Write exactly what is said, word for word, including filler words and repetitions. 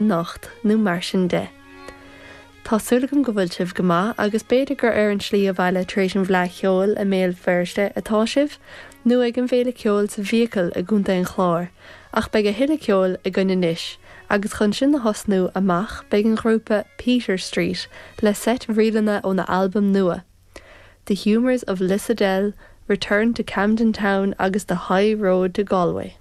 Anocht nó mar sin de. Tá súil agam go bhfuil sibh go maith agus b'fhéidir gur ar an slí abhaile tar éis an Fhleadh Cheoil i mBéal Feirste atá sibh, nó ag an bhFéile Ceoil sa Fhiacail i gContae an Chláir, ach beidh a thuilleadh ceoil againn anois, agus chun sin a thosnú amach beidh an grúpa Peter Street le seit ríleanna óna albam nua. The Humours of Lissadell, Return to Camden Town agus The High Road to Galway.